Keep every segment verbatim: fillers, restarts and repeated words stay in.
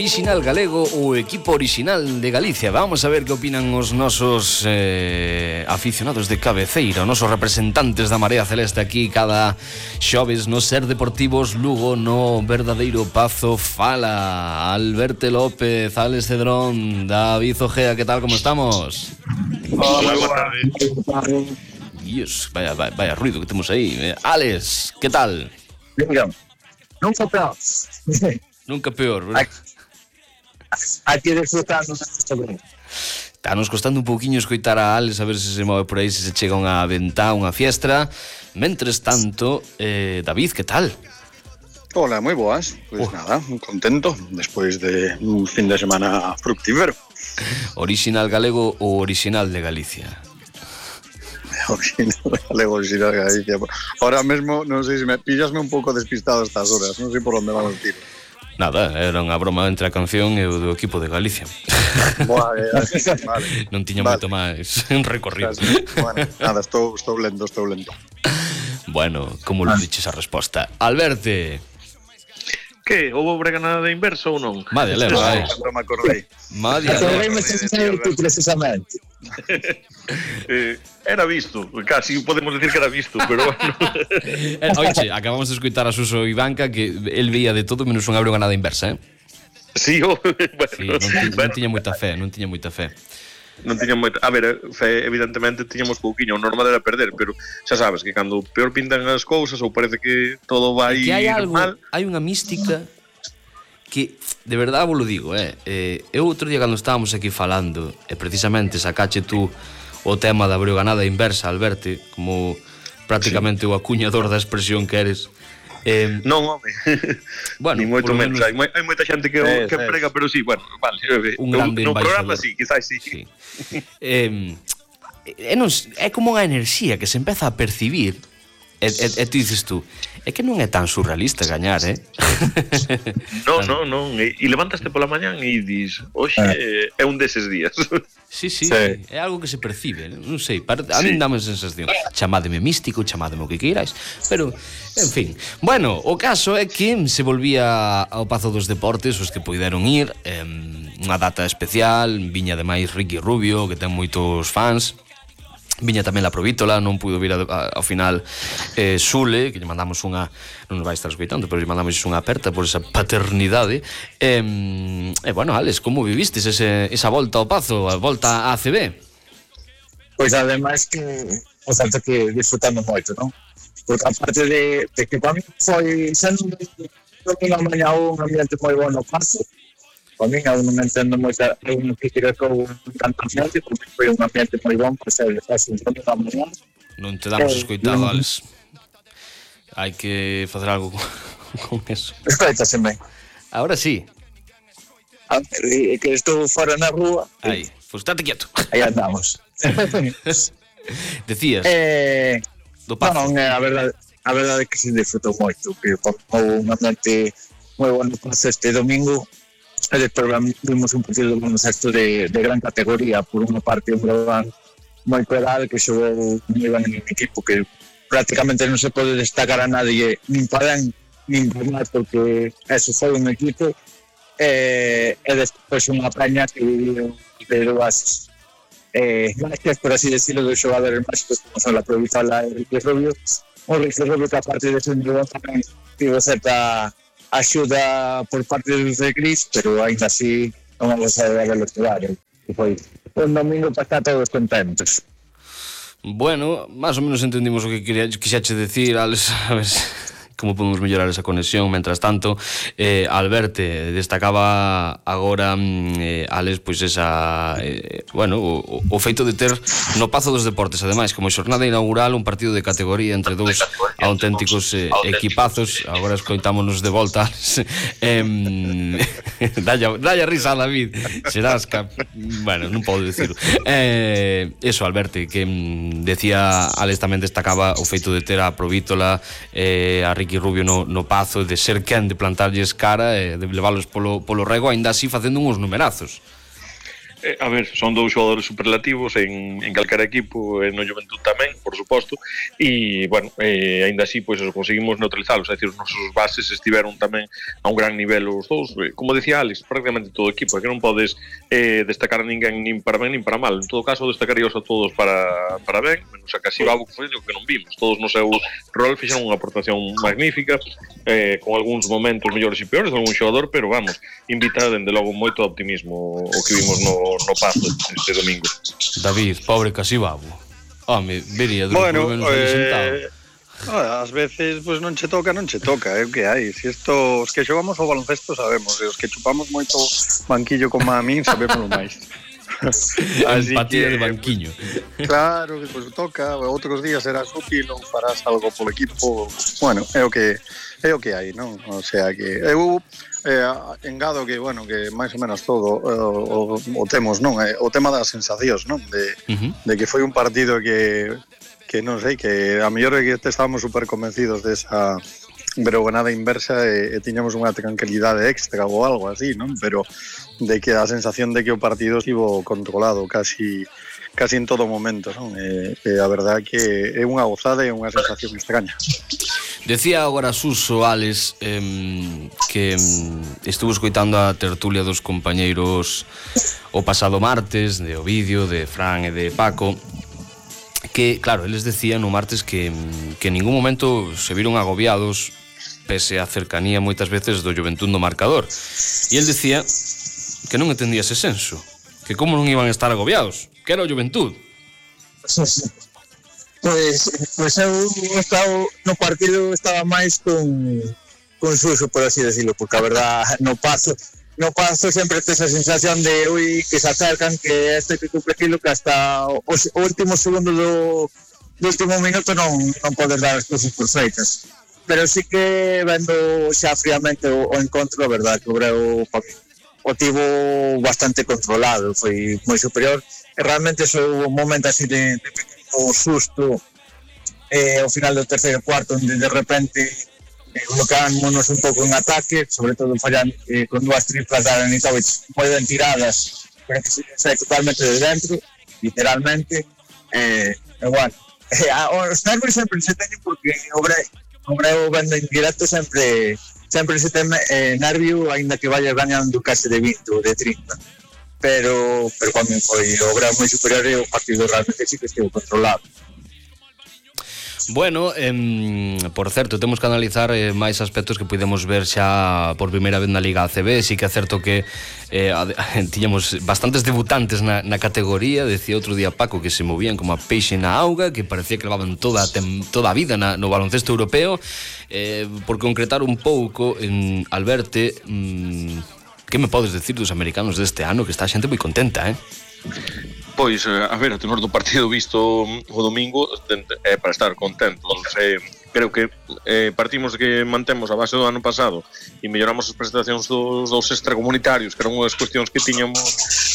orixinal galego, o equipo orixinal de Galicia. Vamos a ver que opinan os nosos eh, aficionados de cabeceira, os nosos representantes da Marea Celeste aquí cada xoves no Ser Deportivos Lugo, no verdadeiro Pazo Fala. Alberto López, Alex Cedrón, David Ojea, ¿qué tal? ¿Cómo estamos? Hola, boa tarde. Dios, vaya, vaya, vaya ruido que temos aí. Eh, Alex, ¿qué tal? Venga, nunca peor. Nunca peor, ¿verdad? Aquí disfrutando. Está nos costando un pouquiño escoitar a Alex, a ver se se move por aí, se se chega unha ventá, unha fiestra. Mentres tanto, eh, David, ¿qué tal? Hola, moi boas. Pois pues oh. nada, contento despois de un fin de semana fructífero. Original galego ou original de Galicia? Original galego, original de Galicia. Ahora mesmo, non sei se me pillasme un pouco despistado a estas horas, non sei por onde van os tiros. Nada, era unha broma entre a canción e o do equipo de Galicia. Boa, eh, vale. Non tiña vale. moito máis recorrido. Bueno, nada, estou, estou lento, estou lento. Bueno, como lo diches a resposta? Alberto. Que? Houve breganada de inverso ou non? Madre leva, eh. Non me acordei. Madre leva. Precisamente. eh, era visto, casi podemos decir que era visto, pero bueno. Oiche, acabamos de escutar a Suso Ivanca que el veía de todo menos unha breganada inversa, eh? Sí, oh, bueno, sí, non, ti, non tiña moita fe, non tiña moita fe. Non tiña moita, a ver, fe, evidentemente tiñamos pouquiño, o normal era perder, pero xa sabes que cando peor pintan as cousas ou parece que todo vai que hai algo, mal, hai unha mística que, de verdade vos lo digo, eh, eh eu outro día cando estábamos aquí falando, e precisamente sacache tú o tema da breganada inversa, Alberto, como prácticamente sí. O acuñador da expresión que eres. Eh, non, home. Bueno, ni moito menos. menos... Hai, hai moita xente que, eh, que prega, pero sí, bueno, vale. Un grande no embaixador. programa sí, quizás sí. sí. eh, é, non, é como unha enerxía que se empeza a percibir. E, e, e tú dices tú, é que non é tan surrealista gañar, eh? Non, non, non. E, e levantaste pola mañán e dis, oxe, eh. é un deses días. Sí, sí, sí, é algo que se percibe, non sei, a mí sí. Dame a sensación. Chamademe místico, chamademe o que queirais, pero, en fin. Bueno, o caso é que se volvía ao Pazo dos Deportes, os que puideron ir, eh, unha data especial, viña ademais Ricky Rubio, que ten moitos fans. Viña tamén la Provítola, non puido vir a, a, ao final eh, Sule, que lle mandamos unha, non nos vai estar escoitando, pero lle mandamos unha aperta por esa paternidade. E, eh, bueno, Alex, como vivistes ese, esa volta ao Pazo, a volta á A C B? Pois ademais que, o tanto que disfrutando moito, non? Porque aparte de, de que para mí foi sendo unha mañá un ambiente moi bon no Pazo. Para mí, aún non entendo moita unha crítica con tanta xente, porque foi un ambiente moi bon, pois é, fácil, non da mañá. Non te damos eh, escoitado, non... Alex. Hai que facer algo con eso. Escoitaseme. Ahora sí. A ver, que estou fora na rúa. Aí, pois estate quieto. Aí andamos. Decías. Eh, do Pazo. Non, non, a verdade, a verdade é que se disfrutou moito, que houve un ambiente moi bon no Pazo este domingo. E despois vimos un partido de baloncesto de, de gran categoría, por unha parte un Breogán moi pedal que xogou moi ben en equipo, que prácticamente non se pode destacar a nadie nin para ben nin para mal, porque eso foi un equipo e, e despois unha peña que viviu de dúas eh, gracias, por así decirlo, dos xogadores máxicos como son la Provítola e Ricky Rubio. O Ricky Rubio que aparte de ser un Breogán tamén tivo certa axuda por parte dos de Gris, pero ainda así non vamos a ver los horarios. E foi un domingo para estar todos contentos. Bueno, máis ou menos entendimos o que quixache decir, Alex, a ver como podemos mellorar esa conexión. Mentras tanto, eh, Alberto destacaba agora, eh, Alex, pois esa, eh, bueno, o, o feito de ter no Pazo dos Deportes, ademais, como xornada inaugural, un partido de categoría entre dous auténticos eh, equipazos. Agora escoitámonos de volta. eh, dalla, dalla risa a David, serás cap... bueno, non podo decirlo. Eh, eso, Alberto, que mm, decía, Alex tamén destacaba o feito de ter a Provítola, eh, a Ricky Rubio no, no Pazo, de ser quen de plantarlles cara e de leválos polo, polo rego, ainda así facendo uns numerazos. Eh, a ver, son dous xogadores superlativos en, en calquera equipo, e no Juventud tamén, por suposto, e, bueno, eh, ainda así, pois, pues, conseguimos neutralizalos, é dicir, os nosos bases estiveron tamén a un gran nivel os dous, eh, como decía Alex, prácticamente todo o equipo, é que non podes eh, destacar a ninguén nin para ben nin para mal, en todo caso destacaríos a todos para, para ben, menos a casi Babo, que foi o que non vimos, todos no seu rol fixeron unha aportación magnífica, eh, con algúns momentos mellores e peores de algún xogador, pero vamos, invita dende logo moito optimismo o que vimos no no paso este domingo. David, pobre Casibabo. Home, vería do bueno, menos ali sentado. Eh, ás veces pues non che toca, non che toca, é o que hai. Si isto, os que xogamos ao baloncesto sabemos, e os que chupamos moito banquillo como a min sabemos o máis. Empatía que, de banquiño. Claro, que pues toca, outros días serás útil ou farás algo polo equipo. Bueno, é o que é o que hai, non? O sea que eu Eh, engado que, bueno, que máis ou menos todo eh, o, o temos, non? Eh, o tema das sensacións, non? De, uh-huh. de que foi un partido que, que non sei, que a mellor é que estábamos super convencidos desa bregonada inversa e, e tiñamos unha tranquilidade extra ou algo así, non? Pero de que a sensación de que o partido estivo controlado casi casi en todo momento, non? E, e a verdade que é unha gozada e unha sensación extraña. Decía agora Suso, Alex, eh, que eh, estuvo escoitando a tertulia dos compañeiros o pasado martes, de Ovidio, de Fran e de Paco, que, claro, eles decían no martes que, que en ningún momento se viron agobiados pese a cercanía moitas veces do Juventud no marcador. E el decía que non entendía ese senso, que como non iban a estar agobiados, que era o Juventud. Pois, pois eu estaba, no partido estaba máis con, con Suso, por así decirlo, porque a verdad no paso no paso sempre tes a sensación de ui, que se acercan, que este que cumple aquilo, que hasta o, o último segundo do, do último minuto non, non podes dar as cousas perfeitas. Pero sí que vendo xa fríamente o, o encontro, a verdad, que o Breu o tivo bastante controlado, foi moi superior, e realmente foi un momento así de, de o susto eh, ao final do terceiro cuarto, onde de repente eh, bloqueámonos un pouco en ataque, sobre todo fallando eh, con dúas triplas da Anitovic moi ben tiradas, pero que se sai totalmente de dentro, literalmente, eh, e bueno, eh, os nervios sempre se teñen porque o Breu, o Breu vendo en directo sempre sempre se ten eh, nervio, ainda que vayas gañando case de vinte ou de trinta. pero pero cando foi o Breu moi superior e o partido realmente sí que estivo controlado. Bueno, eh, por certo, temos que analizar eh, máis aspectos que podemos ver xa por primeira vez na Liga A C B. Sí que é certo que eh, tiñamos bastantes debutantes na, na categoría. Decía outro día Paco que se movían como a peixe na auga, que parecía que levaban toda, tem, toda a vida na, no baloncesto europeo. eh, Por concretar un pouco, en Alberte, mm, que me podes decir dos americanos deste ano, que está a xente moi contenta, eh? Pois, a ver, a tenor do partido visto o domingo é para estar contentos. Eh, creo que eh, partimos de que mantemos a base do ano pasado e melloramos as prestacións dos, dos extracomunitarios, que eran unhas cuestións que tiñamos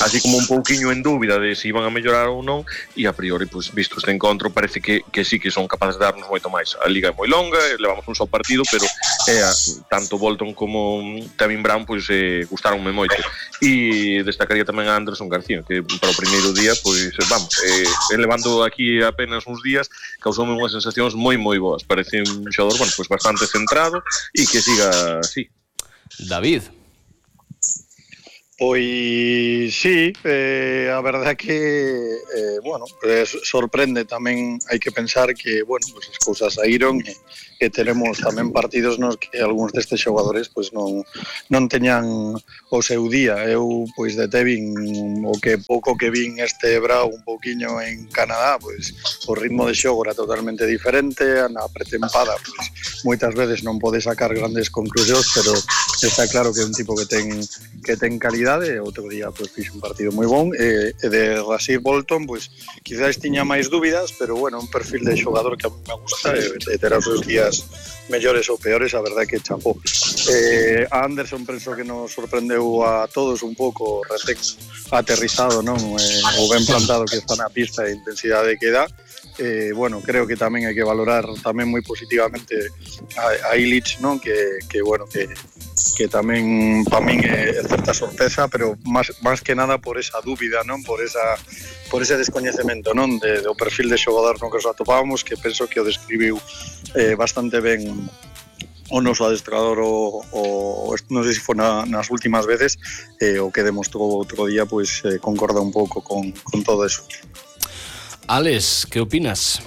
así como un pouquiño en dúbida de se iban a mellorar ou non, e a priori, pues, visto este encontro, parece que, que sí que son capaces de darnos moito máis. A liga é moi longa, levamos un só partido, pero eh, tanto Bolton como Tevin Brown pues, eh, gustaronme moito. E destacaría tamén a Anderson García, que para o primeiro día, pois, vamos, eh, levando aquí apenas uns días, causoume unhas sensacións moi moi boas. Parece un xogador, bueno, pues bastante centrado e que siga así. David. Pois sí, eh, a verdade que eh, bueno, eh, sorprende tamén, hai que pensar que, bueno, pues as cousas saíron e, e teremos tamén partidos nos que algúns destes xogadores pois non non teñan o seu día. Eu pois de Tevin, o que pouco que vin este Brau un pouquiño en Canadá, pois o ritmo de xogo era totalmente diferente, na pretempada pois moitas veces non pode sacar grandes conclusións, pero está claro que é un tipo que ten que ten calidade. Outro día pois fixe un partido moi bon, e, e de Rasir Bolton pois quizás tiña máis dúbidas, pero bueno, un perfil de xogador que a mí me gusta, e, e terá os seus días mellores ou peores, a verdade que chapó. eh, a Anderson penso que nos sorprendeu a todos un pouco recén aterrizado, non? Eh, o ben plantado que está na pista e a intensidade que dá. Eh, bueno, creo que tamén hai que valorar tamén moi positivamente a, a Illich, non? Que, que bueno, que que tamén para min é certa sorpresa, pero máis, máis que nada por esa dúbida, non? Por esa por ese descoñecemento, non? De, do perfil de xogador no que os atopábamos, que penso que o describiu eh, bastante ben o noso adestrador o, o non sei se foi na, nas últimas veces, eh, o que demostrou outro día, pois eh, concorda un pouco con, con todo eso. Alex, que opinas?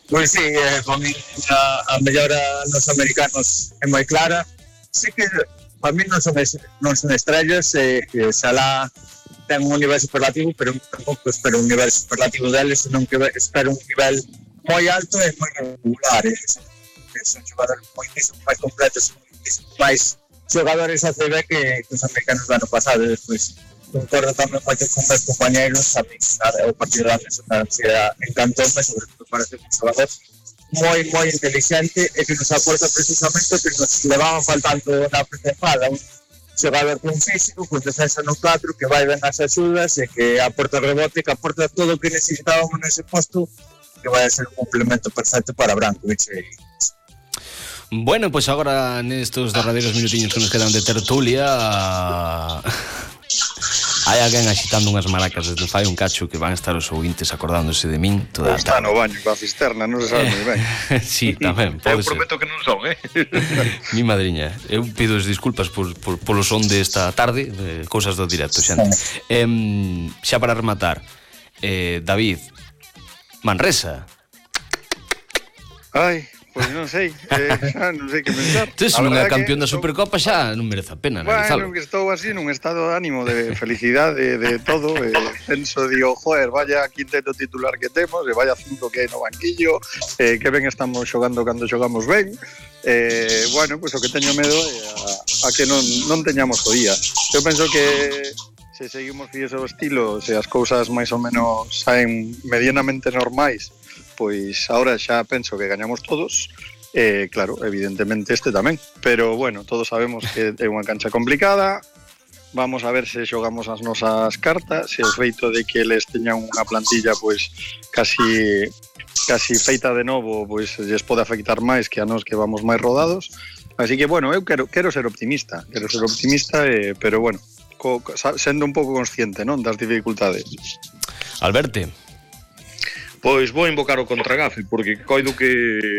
Pois sí, eh, para mí a, a mellora nos americanos é moi clara. Sí que para mí non son, non son estrellas, eh, que Salah ten un nivel superlativo, pero tampouco espero un nivel superlativo deles, senón que espero un nivel moi alto e moi regular. Eh. Son xogadores moitísimo máis completos, moitísimo máis xogadores A C B que, que os americanos do ano pasado. E despois concordo tamén moito con meus compañeros, a mí o partido da Mesotancia encantoume, sobre todo parece un xogador moi, moi inteligente e que nos aporta precisamente que nos levaban faltando na pretempada, un xogador con físico, con defensa no catro, que vai ben as axudas e que aporta rebote, que aporta todo o que necesitábamos nese posto, que vai a ser un complemento perfecto para Brankovic. Bueno, pois pues agora nestos derradeiros minutiños que nos quedan de tertulia hai alguén axitando unhas maracas desde fai un cacho que van estar os ouvintes acordándose de min toda a tarde. Está no baño coa cisterna, non se sabe moi ben. Sí, tamén, pode ser. Eu prometo que non son, eh? Mi madriña, eu pido as disculpas por, por, polo son desta tarde, eh, cousas do directo, xente. Eh, xa para rematar, eh, David, Manresa. Ai, pois non sei, eh, xa non sei que pensar. Tes non é campeón da Supercopa, xa non merece a pena analizalo. Bueno, que estou así nun estado de ánimo, de felicidade, de, de todo, eh, penso, digo, joder, vaya quinteto titular que temos, e vaya cinco que hai no banquillo, eh, que ben estamos xogando cando xogamos ben, eh, bueno, pois pues, o que teño medo é a, a que non, non teñamos o día. Eu penso que se seguimos fíes ao estilo, se as cousas máis ou menos saen medianamente normais, pois agora xa penso que gañamos todos, eh, claro, evidentemente este tamén, pero bueno, todos sabemos que é unha cancha complicada, vamos a ver se xogamos as nosas cartas, se o feito de que eles teñan unha plantilla pois casi casi feita de novo, pois lles pode afectar máis que a nós que vamos máis rodados, así que bueno, eu quero, quero ser optimista, quero ser optimista, eh, pero bueno, co, sendo un pouco consciente, non, das dificultades. Alberto. Pois vou invocar o Contragafe, porque coido que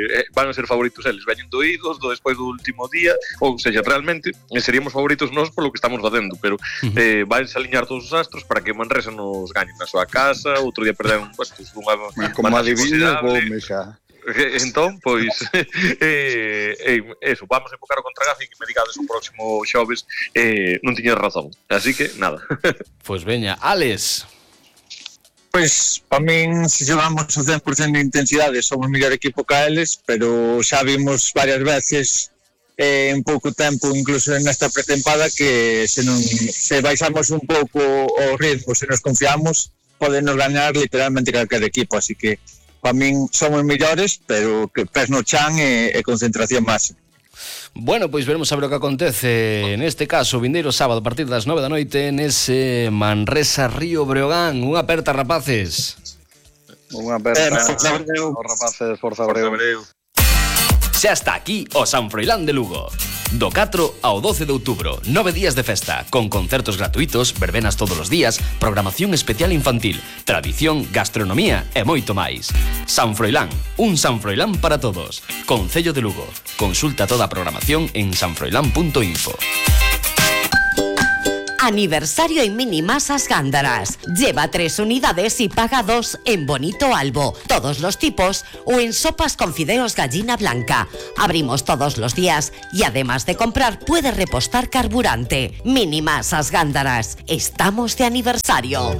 eh, van a ser favoritos eles, veñen doídos do despois do último día, ou seja, realmente eh, seríamos favoritos nós polo que estamos facendo, pero uh-huh. eh, vai se aliñar todos os astros para que Manresa nos gañen na súa casa, outro día perderon pues, unha como adivinhas, bome xa. Entón, pois eh, eh, eso, vamos a invocar o Contragafe que me digades o próximo xoves, eh, non tiñas razón, así que nada. Pois veña, Alex. Pois, para min, se xogamos o cen por cento de intensidade, somos o mellor equipo que eles, pero xa vimos varias veces eh, en pouco tempo, incluso nesta pretempada, que se, non, se baixamos un pouco o ritmo, se nos confiamos, podenos gañar literalmente calquer equipo, así que para min somos mellores, pero que pés no chan e, e concentración máxima. Bueno, pois veremos a ver o que acontece neste caso, vindeiro sábado a partir das nove da noite nese Manresa Río Breogán. Unha aperta, rapaces. Unha aperta, eh, os rapaces, forza Breu. Xa está aquí o San Froilán de Lugo. Do catro ao doce de outubro, nove días de festa, con concertos gratuitos, verbenas todos os días, programación especial infantil, tradición, gastronomía e moito máis. San Froilán, un San Froilán para todos. Concello de Lugo. Consulta toda a programación en sanfroilán punto info. Aniversario en Minimasas Gándaras. Lleva tres unidades y paga dos en Bonito Albo, todos los tipos, o en sopas con fideos gallina blanca. Abrimos todos los días y además de comprar puede repostar carburante. Minimasas Gándaras. Estamos de aniversario.